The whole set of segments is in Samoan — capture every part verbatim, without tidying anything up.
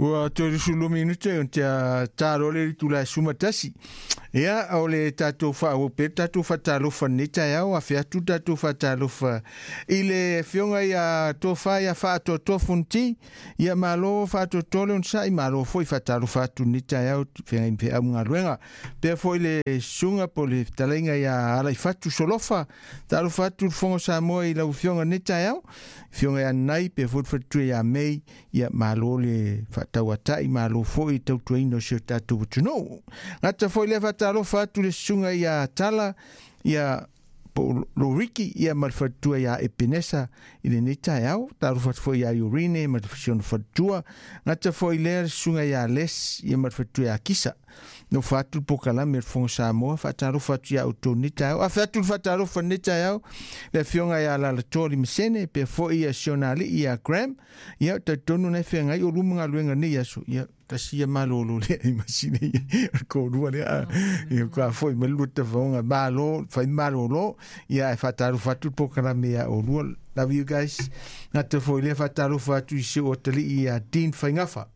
Ua tolusulu minute o te talo le tula suma tasi. Ia o le tatou faaauau pea tatou faatalofa lenei taeao afe atu tatou faatalofa i le afioga ia Tofa ia Faatoatoa Fonoti. Ia malo faatoatoa le onosai, malo foi faatalofa atu lenei taeao feagai ma feau ma galuega. Pea foi le susuga po o le fetalaiga ia Alaifatu Solofa, talofa atu le Fofoga o Samoa i lau afioga lenei taeao, afioga ia Nai, pea foi le faletua ia Mei. Ia malo le faatauatai, malo foi i tautuaina o si o tatou atunuu. Gata foi lea faatalofa atu le susuga ia Tala, ia po Loriki, ia ma le faletua ia Epenesa i lenei taeao. Talofa atu foi ia Iorine ma le si ona faletua. Gata foi lea le susuga ia Les, ia ma le faletua ia Kisa. Nofo atu le pokalame o le Fofoga Samoa, faatalofa atu ia outou lenei taeao. Afe atu le faatalofa lenei taeao le afioga ia Lalatoa Limasene, pea foi ia si ona alii ia Graham. Ia talitonu na e feagai o luma galuega nei aso. Ia tasi ia malolo lea i masine ia kolua lea ia ka foi ma lua tafaoga malo fai malolo. Ia e faatalofa atu le pokalame ia olua. Love you guys. Gata foi lea faatalofa atu i si o atalii ia Dean Faingafa.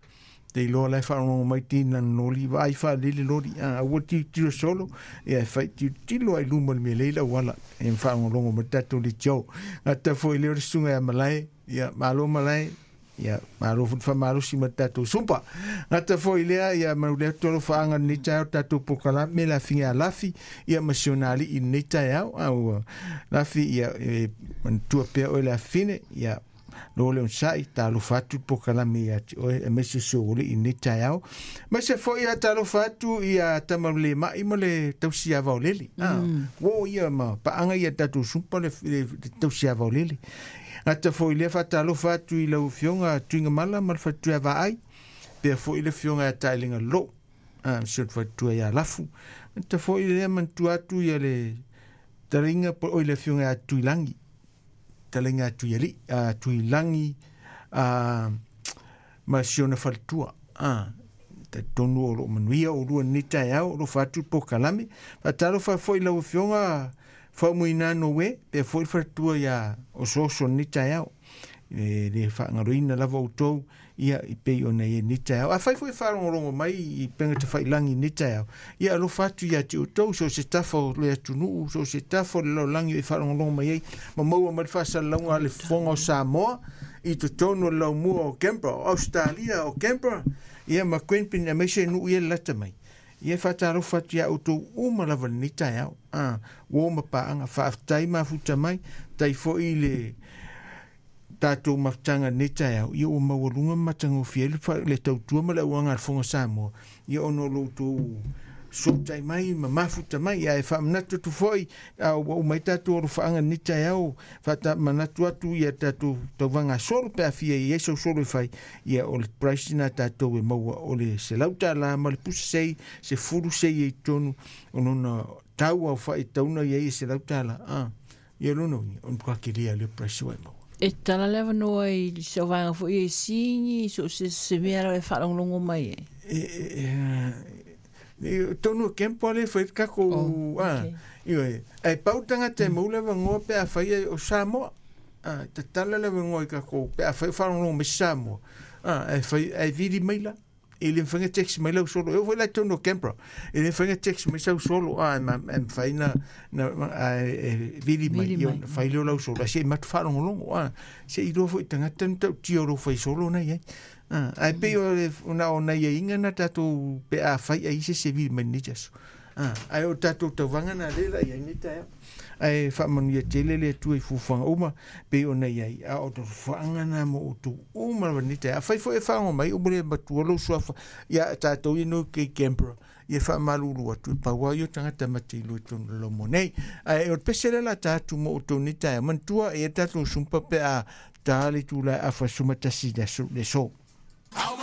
Te iloa lai faalogologo mai Dean lana loli vaai faalele loli a aua tilotilo solo ia e fai tilotilo ai luma le mea lei lau ala e faalogologo ma tatou leitio. Gata foi lea o le susuga ia Malae. Ia malo Malae, ia malo foi faamalosi ma tatou sumpa. Gata foi lea ia mau lea tolofaaga lenei taeao tatou pokalame le afiga ia Lafi ia ma si ona alii lenei taeao. A ua Lafi, ia e manatua pea oe le afine ia lo le onosai, talofa atu le pokalame ia te oe aemaise si ou alii lenei taeao. Maise foi ia talofa atu ia Tamalema'i ma le tausi vaolele. Ah, ua ia ma paaga ia tatou sumpa le, le, le tausi vaolele. Gata foi lea faatalofa atu i lau afioga Tuigamala ma le faletua Vaai, pea foi le afioga ia Taelega Lo, ah, si o le faletua ia Lafu. Gata foi lea manatua atu ia le talaiga po oi le afioga ia Tuilagi, talaiga Tuialii, a Tuilagi a ma si ona faletua. Ah, talitonu o loo manuia o lua lenei taeao, o alofa atu le pokalame. Faatalofa foi lau afioga Faumuina Noe, pea foi le faletua ia Osooso lenei taeao. E le faagaloina lava outou ia i pei ona i lenei taeao. Afai foi faalogologo mai i pega tafailagi i lenei taeao, ia alofa atu ia te outou so o se tafa o le atunuu, so o se tafa o le lalolagi e faalogologo mai ai ma maua mai le faasalalauga a le Fofoga o Samoa i totonu o le laumua o Canberra, o Australia o Canberra, ia ma Queanbeyan aemaise nuu ia le lata mai. Ia faatalofa atu ia outou uma lava lenei taeao. Ah, ua ma paaga faafetai mafuta mai, tai foi le tatou mafutaga lenei taeao. Ia ua maualuga ma matagofie ai le, le tautua ma le auaga a le Fofoga Samoa. Ia ona o lo outou sotai mai ma mafuta mai. Ae faamanatu atu foi a ua uma ai tatou alofaaga lenei taeao, faamanatu atu ia tatou tauvaga solo pe a fia i ai sau solo e fai. Ia o le price na tatou e maua o le selau tala ma le pusa sei se fulu sei e i totonu o lona tau au faitauna ia i selau tala. Ah, ia lona uiga o le matua kelia le price ua e maua. E tala le avanoa i se vaega foi e sigi so se se mea lava e faalogologo mai e. E, e, e, tonu o kempo ale fai kako. Oh, ah okay. Ioe ai pau tagata e maua le avanoa pe a fai o Samoa. Ah, tatala le avanoa i kako pe a fai faalogologo mai Samoa. Ah, e fai e vili mai la e le mafai text mai lau solo e foi la tonu o Canberra e le mafai text mai sau solo. Ah, e ma e mafai na na a, e vili mai Vili ia mai. Fai leo lau solo se i matu faalogologo. Ah, se i iloa foi tagata na tautia o lou fai solo na iai. Ah, ae pei o le na o nai aiga na tatou pe a fai ai se se vili mai nei aso. Ah, ae o tatou tauvaga na le la iai nei taeao. Ae faamanuia tele le Atua i fuafuaga uma pei ona iai a o fuafuaga na mo outou uma lava nei taeao. Afai foi e faalogo mai ua le matua lou suafa ia tatou ia no ke Canberra, ia faamalulu atu e pau ai o tagata mate iloa i totonu o le laumua nei. Ae o le pese lea la ta atu mo outou nei taeao. Manatua e tatou sumpa pe a ta le itula e afa sumatasi le aso le so.